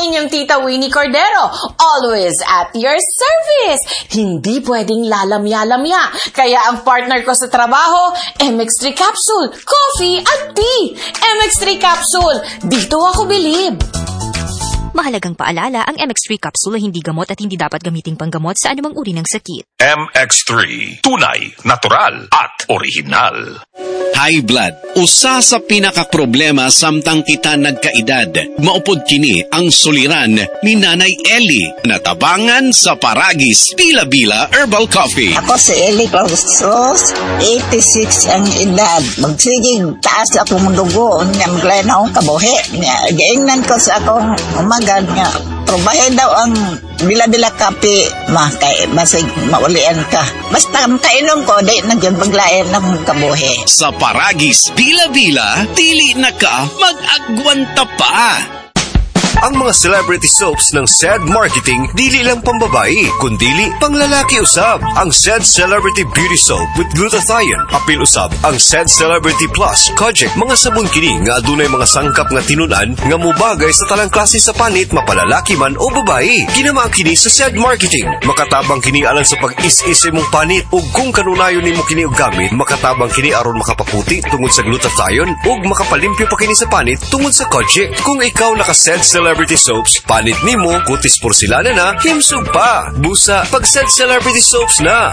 inyong Tita Winnie Cordero, always at your service. Hindi pwedeng lalamya-lamya. Kaya ang partner ko sa trabaho, MX3 Capsule, coffee at tea. MX3 Capsule, dito ako bilib. Mahalagang paalala, ang MX3 capsule ay hindi gamot at hindi dapat gamiting panggamot sa anumang uri ng sakit. MX3. Tunay, natural, at orihinal. High blood, usa sa pinakaproblema samtang kita nagkaedad. Maupod kini ang suliran ni Nanay Ellie na tabangan sa Paragis Bila-Bila Herbal Coffee. Ako si Ellie Clausos, 86 ang edad. Magsigig taas akong dugo, niya maglain akong kabuhi. Niya, giingnan ko sa akong umaga niya. Probahe daw ang bila-bila kape, ma, kay, basig maulian ka. Basta kainom ko, di na gyud maglain akong kabuhi. Sa Paragis Bila-Bila, dili na ka mag-agwanta pa. Ang mga celebrity soaps ng SED Marketing dili lang pambabae, kundili panglalaki usab. Ang SED Celebrity Beauty Soap with glutathione, apil usab ang SED Celebrity Plus, Kojic, mga sabon kini nga adunay mga sangkap nga tinun-an nga mobagay sa tanang klase sa panit mapalalaki man o babae. Kinama kini sa SED Marketing. Makatabang kini alang sa pag-is-is imong panit ug kung kanunayon nimo kini og gamit, makatabang kini aron makapaputi tungod sa glutathione ug makapalimpyo pa kini sa panit tungod sa Kojic. Kung ikaw naka SED Celebrity Soaps, panit nimo, kutis porselana na, himsog pa. Busa, pag SED Celebrity Soaps na.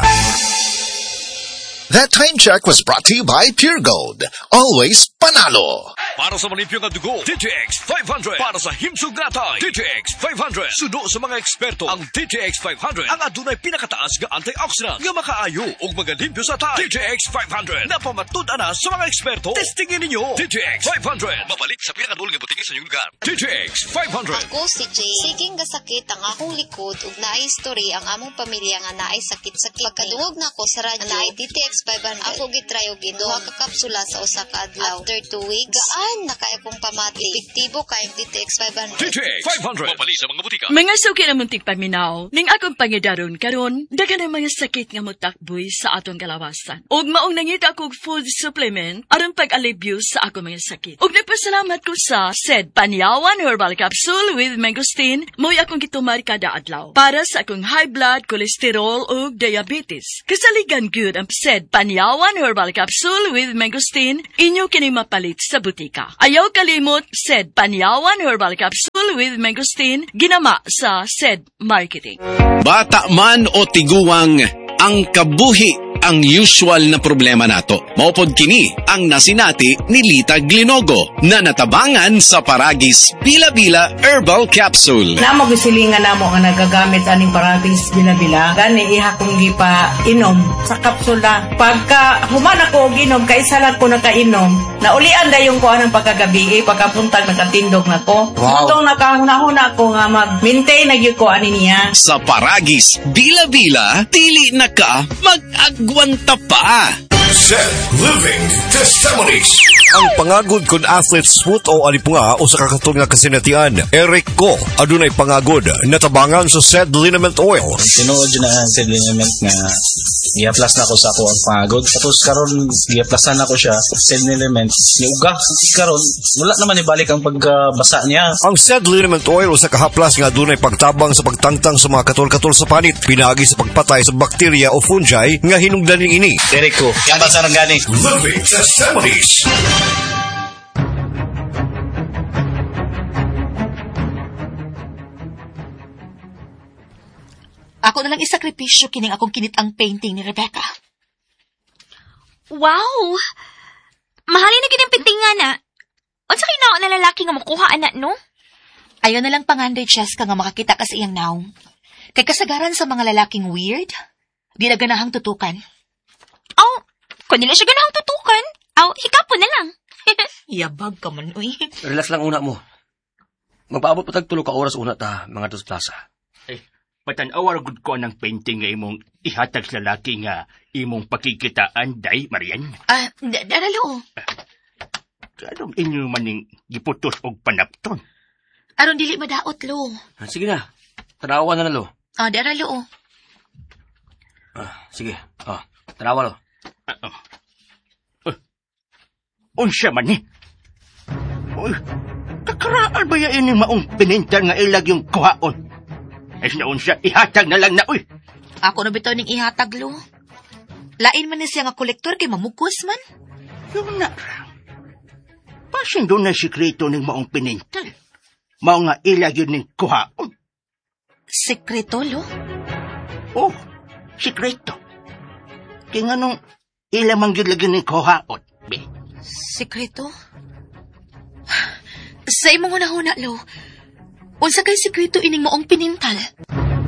That time check was brought to you by Pure Gold. Always panalo. Para sa malimpyo nga dugo, DTX 500. Para sa himsog nga atay, DTX 500. Suno sa mga eksperto, ang DTX 500 ang adunay pinakataas nga antioxidant nga makaayo ug magalimpyo sa atay. DTX 500. Napamatud-an na sa mga eksperto. Testingin ninyo. DTX 500. Mabalik sa pinakadul nga butika sa inyong lugar. DTX 500. Ako si Jay. Siging gasakit ang akong likod ug naay story ang among pamilya nga naay sakit sa kidney. Pagkadungog nako sa radyo, naay DTX 500. Ako gitry og inom duha ka kapsula sa usa ka adlaw. After 2 weeks, gaan na kay akong pamati. Epektibo kay DTX 500. DTX 500. Mabalik sa mga butika. Mga suki na muntik paminaw, ning akong pangidaron karon, daghan ang mga sakit nga motakboy sa atong kalawasan. Ug maong nangita kog food supplement aron pag-alibyo sa akong mga sakit. Ug nagpasalamat ko sa SED Panyawan Herbal Capsule with Mangosteen, mo'y akong gitumar kada adlaw para sa akong high blood, cholesterol ug diabetes. Kasaligan gyud ang SED Panyawan Herbal Capsule with Mangosteen, inyo kini mapalit sa butika. Ayaw kalimot, SED Panyawan Herbal Capsule with Mangosteen, ginama sa SED Marketing. Bata man o tiguang, ang kabuhi ang usual na problema nato. Maupod kini ang nasinati ni Lita Glinogo na natabangan sa Paragis Bila-Bila Herbal Capsule. Namo gisilingan namo nga nagagamit aning Paragis Bila-Bila. Gani iha kong gipa inom sa kapsula. Pagka human ako og inom, kaisa lang ko nakainom. Naulian dayon ko anang pagkagabi, pagkapuntag nakatindog na ko. Wow. Mutong nakahuna-huna ko nga mag-maintain na gyud ko ani niya. Sa Paragis Bila-Bila, dili na ka mag-agwanta pa. Seth Living Testimonies. Ang pangagod kun athlete's foot o alipunga o sa kakatol nga kasinatian, Eric Ko, adunay pangagod, natabangan sa SED Liniment Oil. Tinuod yun na ang SED Liniment nga giaplas na ko sa ako ang pangagod. Tapos karon giaplasan ako siya, SED Liniment, niuga. Karon wala naman ibalik ang pagkabasa niya. Ang SED Liniment Oil o sa kahaplas nga adunay pagtabang sa pagtangtang sa mga katol-katol sa panit, pinaagi sa pagpatay sa bakterya o fungi nga hinungdan ini. Eric Ko, yan ba sa gani? Living Testimonies. Ako na lang isakripisyo kining akong kinitang painting ni Rebecca. Wow! Mahalin na kining painting na. Unsa kay nao na lalaki nga makuha ana no? Ayaw na lang pangandoy, Cheska, nga makakita ka sa iyang naong. Kay kasagaran sa mga lalaking weird, di na ganahang tutukan. Aw, kung nila siya ganahang tutukan, aw, hikapo na lang. Yabag ka man, uy. Relax lang una mo. Magpaabot pa tag 3 ka oras una ta, mga dos plaza. Eh, patanaw gud ko ng painting nga imong ihatag sa lalaki nga imong pakikitaan, day, Marian. Ah, daralo. Anong inyo maning giputos og panapton? Aron dili madaot, lo. Ah, sige na. Tanawa na na, lo. Ah, daralo. Ah, sige. Ah, tanawa, lo. Unsa man ni? Uy, Paraan ba yan ining maong pinintal nga ilag yung kuhaon? Ay sinaon siya, ihatag na lang na, uy. Ako na bitaw ning ihatag, lo. Lain man ni siya nga kolektor kay mamukos man. Yun na ra. Pasin doon na sikreto ning maong pinintal. Mao nga ilag yun ning kuhaon. Sikreto, lo? Oh, sikreto. Kaya nga nung ilamang yun lagi ning kuhaon, be. Sikreto? Sa imong hunahuna, lo, unsa kay sikreto ining maong pinintal?